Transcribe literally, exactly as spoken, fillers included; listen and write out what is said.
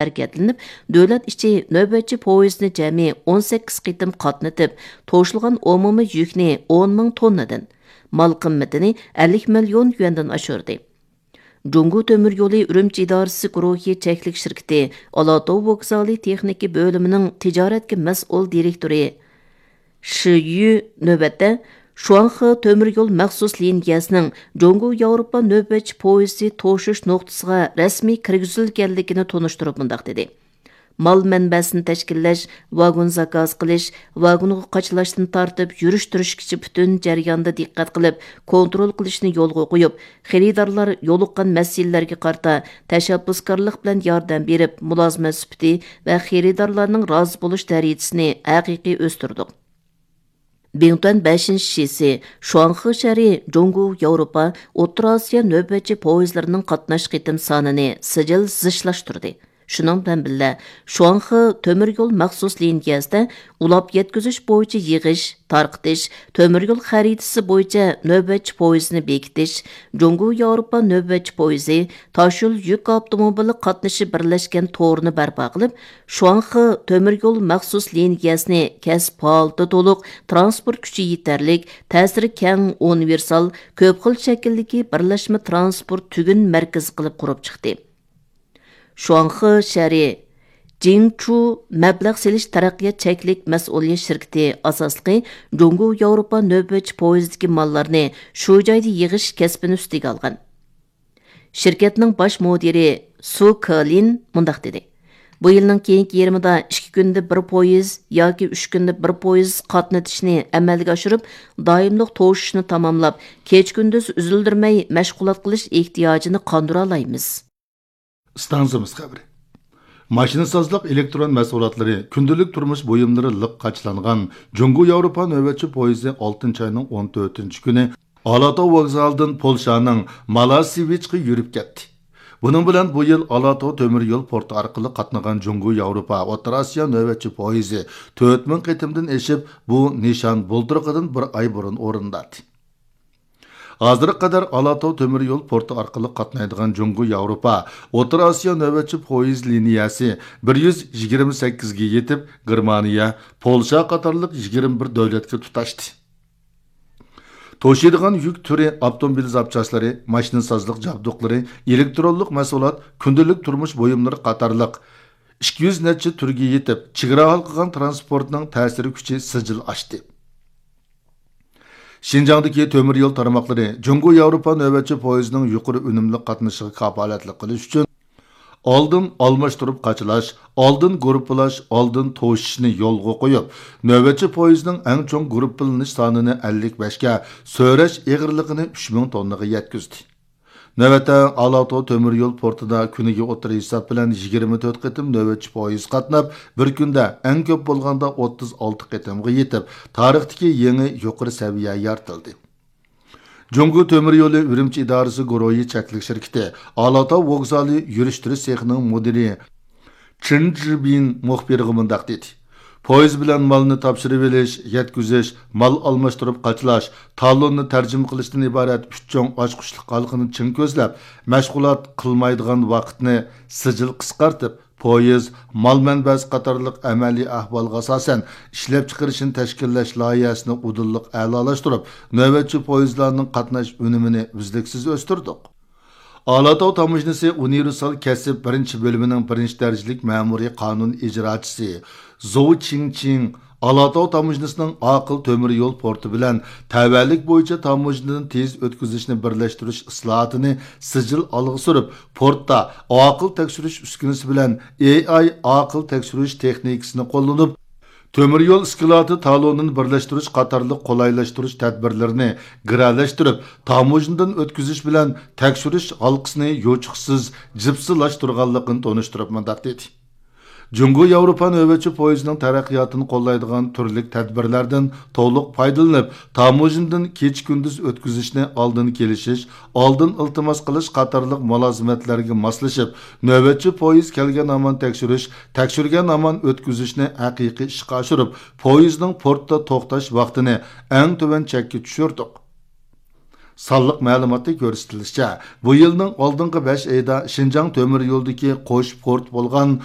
ھەرىكەتلىنىپ، دۆلەت ئىچى نۆۋەتچى پويىزىنى جەمئىي ئون سەككىز قېتىم قاتنىتىپ، توشۇلغان ئومۇمىي يۈكنى ئون مىڭ توننىدىن، مال قىممىتىنى ئەللىك مىليون يۈەندىن ئاشۇردى. جۇڭگو تۆمۈر يولى ئۈرۈمچى ئىدارىسى گۇرۇھى چەكلىك شىركىتى ئالاتاۋ ۋوگزالى تېخنىكا بۆلۈمىنىڭ تىجارەتكە مەسئۇل دىرېكتورى شى يۈ نۆۋەتتە شۇاڭخې تۆمۈر يول مەخسۇس لىنىيەسىنىڭ جۇڭگو ياۋروپا نۆۋەتچى پويىزى توشۇش نۇقتىسىغا رەسمىي كىرگۈزۈلگەنلىكىنى تونۇشتۇرۇپ مۇنداق دېدى: مال مەنبەسىنى تەشكىللەش، ۋاگون زاكاز قىلىش، ۋاگونغا قاچىلاشتىن تارتىپ يۈرۈشتۈرۈشكىچە پۈتۈن جەرياندا دىققەت قىلىپ، كونترول قىلىشنى يولغا قويۇپ، خېرىدارلار يولۇققان مەسىلىلەرگە قارىتا تەشەببۇسكارلىق بىلەن ياردەم بېرىپ، مۇلازىمەت سۈپىتى ۋە خېرىدارلارنىڭ رازى بولۇش دەرىجىسىنى ھەقىقىي ئۆستۈردۇق. بىڭتۈەن بەشىنچى شىسى شۇاڭخې شەھىرى جۇڭگو ياۋروپا ئوتتۇرا ئاسىيا نۆۋەتچى پويىزلىرىنىڭ قاتناش قېتىم سانىنى سىجىل زىچلاشتۇردى. شۇنىڭ بىلەن بىللە، شۇاڭخې تۆمۈر يول مەخسۇس لىنىيەسىدە ئۇلاپ يەتكۈزۈش بويىچە يىغىش، تارقىتىش، تۆمۈر يول خەرىتىسى بويىچە نۆۋەتچى پويىزنى بېكىتىش، جۇڭگو ياۋروپا نۆۋەتچى پويىزى، تاشيول يۈك ئاپتوموبىلى قاتنىشى بىرلەشكەن تورىنى بەرپا قىلىپ، شۇاڭخې تۆمۈر يول مەخسۇس لىنىيەسىنى كەسىپ ھالىتى تولۇق، تىرانسپورت كۈچى يېتەرلىك، تەسىرى كەڭ، ئۇنىۋېرسال، كۆپ خىل شەكىلدىكى بىرلەشمە تىرانسپورت تۈگۈن مەركىزى قىلىپ قۇرۇپ چىقتى. شۇاڭخې شەھىرى جىڭچۇ مەبلەغ سېلىش تەرەققىيات چەكلىك مەسئۇلىيەت شىركىتى ئاساسلىقى جۇڭگو ياۋروپا نۆۋەتچى پويىزىدىكى ماللارنى شۇ جايدا يىغىش كەسپىنى ئۈستىگە ئالغان. شىركەتنىڭ باش مۇدىرى سۇ كېلىن مۇنداق دېدى: بۇ يىلنىڭ كېيىنكى يېرىمىدا ئىككى كۈندە بىر پويىز ياكى ئۈچ كۈندە بىر پويىز قاتنىتىشنى ئەمەلگە ئاشۇرۇپ، دائىملىق توشۇشنى تاماملاپ، كېچە-كۈندۈز ئۈزۈلدۈرمەي مەشغۇلات قىلىش ئېھتىياجىنى قاندۇرالايمىز. ئىستانسىمىز خەۋىرى. ماشىنىسازلىق ئېلېكترون مەھسۇلاتلىرى، كۈندىلىك تۇرمۇش بۇيۇملىرى لىق قاچىلانغان جۇڭگو ياۋروپا نۆۋەتچى پويىزى ئالتىنچى ئاينىڭ ئون تۆتىنچى كۈنى ئالاتاۋ ۋوگزالىدىن پولشانىڭ مالاسېۋىچقا يۈرۈپ كەتتى. بۇنىڭ بىلەن بۇ يىل ئالاتاۋ تۆمۈر يول پورتى ئارقىلىق قاتنىغان جۇڭگو ياۋروپا ئوتتۇرا ئاسىيا نۆۋەتچى پويىزى تۆت مىڭ قېتىمدىن ئېشىپ، بۇ نىشان بۇلتۇرقىدىن بىر ئاي بۇرۇن ئورۇندالدى. ھازىرغا قەدەر ئالاتاۋ تۆمۈر يول پورتى ئارقىلىق قاتنايدىغان جۇڭگو ياۋروپا ئوتتۇرا ئاسىيا نۆۋەتچى پويىز لىنىيەسى بىر يۈز يىگىرمە سەككىزگە يېتىپ، گېرمانىيە، پولشا قاتارلىق يىگىرمە بىر دۆلەتكە تۇتاشتى. توشۇيدىغان يۈك تۈرى، ئاپتوموبىل زاپچاسلىرى، ماشىنىسازلىق جابدۇقلىرى، ئېلېكترونلۇق مەھسۇلات، كۈندىلىك تۇرمۇش بۇيۇملىرى قاتارلىق ئىككى يۈز نەچچە تۈرگە يېتىپ، چېگرا ھالقىغان تىرانسپورتنىڭ تەسىر كۈچى سىجىل ئاشتى. شىنجاڭدىكى تۆمۈر يول تارماقلىرى جۇڭگو ياۋروپا نۆۋەتچى پويىزىنىڭ يۇقىرى ئۈنۈملۈك قاتنىشىغا كاپالەتلىك قىلىش ئۈچۈن، ئالدىن ئالماشتۇرۇپ قاچىلاش، ئالدىن گۇرۇپپىلاش، ئالدىن توشۇشنى يولغا قويۇپ، نۆۋەتچى پويىزنىڭ ئەڭ چوڭ گۇرۇپپىلىنىش سانىنى ئەللىك بەشكە، سۆرەش ئېغىرلىقىنى ئۈچ مىڭ توننىغا يەتكۈزدى. نۆۋەتتە، ئالاتاۋ تۆمۈر يول پورتىدا كۈنىگە ئوتتۇرا ھېساب بىلەن يىگىرمە تۆت قېتىم نۆۋەتچى پويىز قاتناپ، بىر كۈندە ئەڭ كۆپ بولغاندا ئوتتۇز ئالتە قېتىمغا يېتىپ، تارىختىكى يېڭى يۇقىرى سەۋىيە يارىتىلدى. جۇڭگو تۆمۈر يولى ئۈرۈمچى ئىدارىسى گۇرۇھى چەكلىك شىركىتى ئالاتاۋ ۋوگزالى يۈرۈشتۈرۈش سېخىنىڭ مۇدىرى چېن جىبىن مۇخبىرغا مۇنداق دېدى: پويىز بىلەن مالنى تاپشۇرۇۋېلىش، يەتكۈزۈش، مال ئالماشتۇرۇپ قاچىلاش، تالوننى تەرجىمە قىلىشتىن ئىبارەت ئۈچ چوڭ ئاچقۇچلۇق ھالقىنى چىڭ كۆزلەپ، مەشغۇلات قىلمايدىغان ۋاقىتنى سىجىل قىسقارتىپ، پويىز، مال مەنبەسى قاتارلىق ئەمەلىي ئەھۋالغا ئاساسەن ئىشلەپچىقىرىشنى تەشكىللەش لايىھەسىنى ئۇدۇللۇق ئەلالاشتۇرۇپ، نۆۋەتچى پويىزلارنىڭ قاتناش ئۈنۈمىنى ئۈزلۈكسىز ئۆستۈردۇق. ئالاتاۋ تاموژنىسى ئۇنىۋېرسال كەسىپ بىرىنچى بۆلۈمىنىڭ بىرىنچى دەرىجىلىك مەمۇرىي قانۇن ئىجراچىسى زوۋ چىڭچىڭ ئالاتاۋ تاموژنىسىنىڭ ئاقىل تۆمۈر يول پورتى بىلەن تەۋەلىك بويىچە تاموژنىدىن تېز ئۆتكۈزۈشنى بىرلەشتۈرۈش ئىسلاھاتىنى سىجىل ئالغا سۈرۈپ، پورتتا ئاقىل تەكشۈرۈش ئۈسكۈنىسى بىلەن ئېي ئاي ئاقىل تەكشۈرۈش تېخنىكىسىنى قوللىنىپ، تۆمۈر يول ئىسكىلاتى تالونىنى بىرلەشتۈرۈش قاتارلىق قولايلاشتۇرۇش تەدبىرلىرىنى گىرەلەشتۈرۈپ، تاموژنىدىن ئۆتكۈزۈش بىلەن تەكشۈرۈش ھالقىسىنى يوچۇقسىز جىپسىلاشتۇرغانلىقىنى تونۇشتۇرۇپ مۇنداق دېدى: جۇڭگو ياۋروپا نۆۋەتچى پويىزىنىڭ تەرەققىياتىنى قوللايدىغان تۈرلۈك تەدبىرلەردىن تولۇق پايدىلىنىپ، تاموژنىدىن كېچە-كۈندۈز ئۆتكۈزۈشنى ئالدىن كېلىشىش، ئالدىن ئىلتىماس قىلىش قاتارلىق مۇلازىمەتلەرگە ماسلىشىپ، نۆۋەتچى پويىز كەلگەن ھامان تەكشۈرۈش، تەكشۈرگەن ھامان ئۆتكۈزۈشنى ھەقىقىي ئىشقا ئاشۇرۇپ، پويىزنىڭ پورتتا توختاش ۋاقتىنى ئەڭ تۆۋەن چەككە چۈشۈردۇق. سانلىق مەلۇماتتا كۆرسىتىلىشىچە، بۇ يىلنىڭ ئالدىنقى بەش ئېيىدا شىنجاڭ تۆمۈر يولىدىكى قوش پورت بولغان